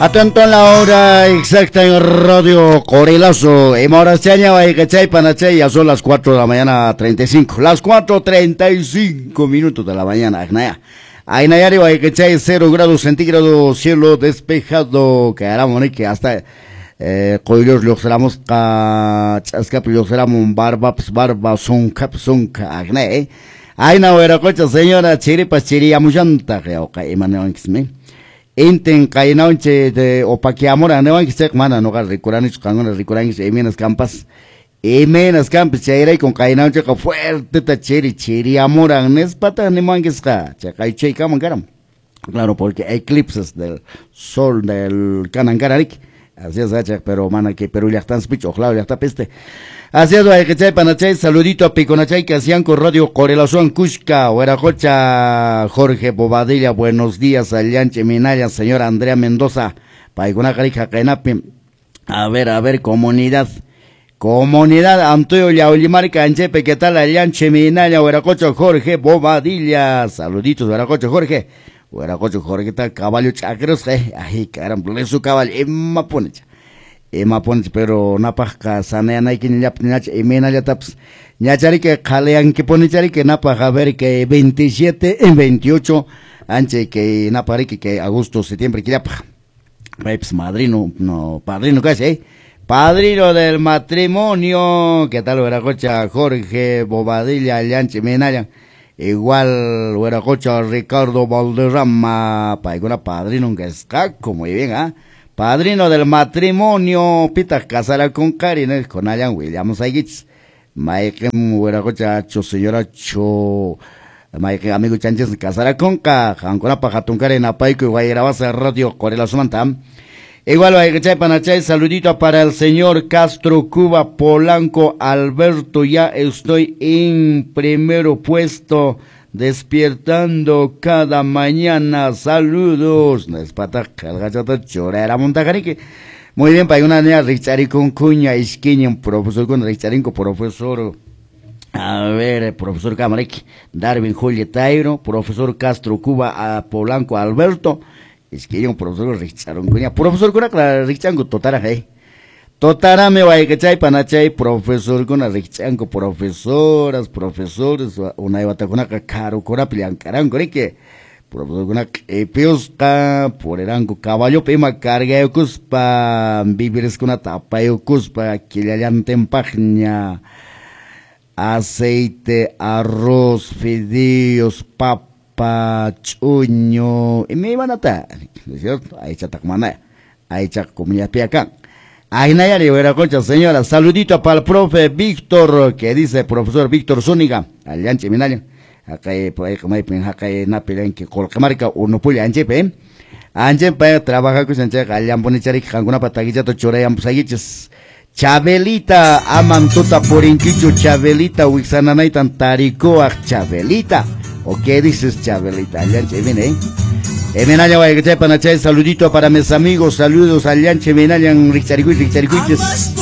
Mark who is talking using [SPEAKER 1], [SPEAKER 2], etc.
[SPEAKER 1] Atento a la hora exacta en Radio Corelazo. Ya son las 4 de la mañana 35. Las 4:35 minutos de la mañana. Agnayari, 0 grados centígrados, cielo despejado. Que hasta qoyllur lluqsiramusqa ch'askapi lluqsiramun barbapas barba sunkhapas sunkha agnay. Ayna wiraqocha señora chiripas chiriyamullantaq yawqa imaniwankismi. Intin qaynawanchik de opaquiamura niwanchik chayqa mana nuqa rikuranichu qankuna rikurankichik imaynas kanpas imaynas kanpas chayraykun qaynawanchikqa fuerteta chiri chiriyamuran nispataq nimuwankisqa chay chaykaman karan. Claro, porque eclipses del sol del kanan karariki. Así es, pero mana que Perú llaqtanspichu ojalá llaqtapi este. Así es, wayqichay panachay, saludito a Piconachay, Casianco, Radio Corelación, Cusca, Hueracocha, Jorge Bobadilla, buenos días, Allanche Minaya, señora Andrea Mendoza, Paigunaca, Jaqainapi. A ver, comunidad, comunidad, Antonio Yaulimarca, Anchepe, ¿qué tal? Allanche Minaya, Hueracocha, Jorge Bobadilla, saluditos, Hueracocha, Jorge. Hueracocho Jorge tal caballo chacros, ay caramba, su caballo, emma ponecha, pero napajka sanayanayki ñacha, imaynallatapas ñachariki qhaliyanki ponichariki napaj a ver que 27 en 28 anche que napariki que agosto, septiembre killapaj. Paypas madrino, no, padrino casi, padrino del matrimonio, ¿qué tal Hueracocha Jorge Bobadilla, Llanche Minaya? Igual, Hueracocha Ricardo Valderrama, paykuna padrino que está muy bien, ¿ah? Padrino del matrimonio, pita casará con Karin, con Allan Williams Aguich, Maiken Hueracocha, cho señora cho, Maiken amigo Chanches casará con Ka, Jancona Pajatuncare, Napaico y Guayrabasa Radio Corela Sumanta. Igual, Panachay, saludito para el señor Castro Cuba Polanco Alberto, ya estoy en primero puesto, despiertando cada mañana, saludos. Muy bien, para una niña Richaricon Cuña, Isquiña, profesor con Richarinco, profesor, a ver, profesor Camarek, Darwin Julia Tairo, profesor Castro Cuba a Polanco Alberto. Es que un profesor Richaron cuña, profesor cuna Richango totara totara me vaya que chay panachay profesor cuna Richango profesoras, profesores, una iba ta caro cora pliancarango que profesor cuna epiosca porerango caballo pima carga cuspa vivires cuna tapayo cuspa quillallanten pagña aceite, arroz, fideos, papa, chuño, y me iban a estar, ¿no es cierto? Ahí chatakmana, ahí chacomunidad piacán. Ahí nayari, concha, señora, saludito para el profe Víctor, que dice profesor Víctor Zúñiga, allanche minaya, acá por ahí como hay acá napilenque, colcamarca, unopulla, anchepe, anchepe, trabaja con anche, allan ponichari, janguna pataguichato, chorayam pusaguiches. Chabelita, aman tuta porinquicho, Chabelita, wixananaitan taricoaj, Chabelita. ¿O qué dices, Chabelita? Allanche, viene, Emenaya, guayachay, panachay, saludito para mis amigos, saludos, allanche, menayan, richaricuy, richaricuiches.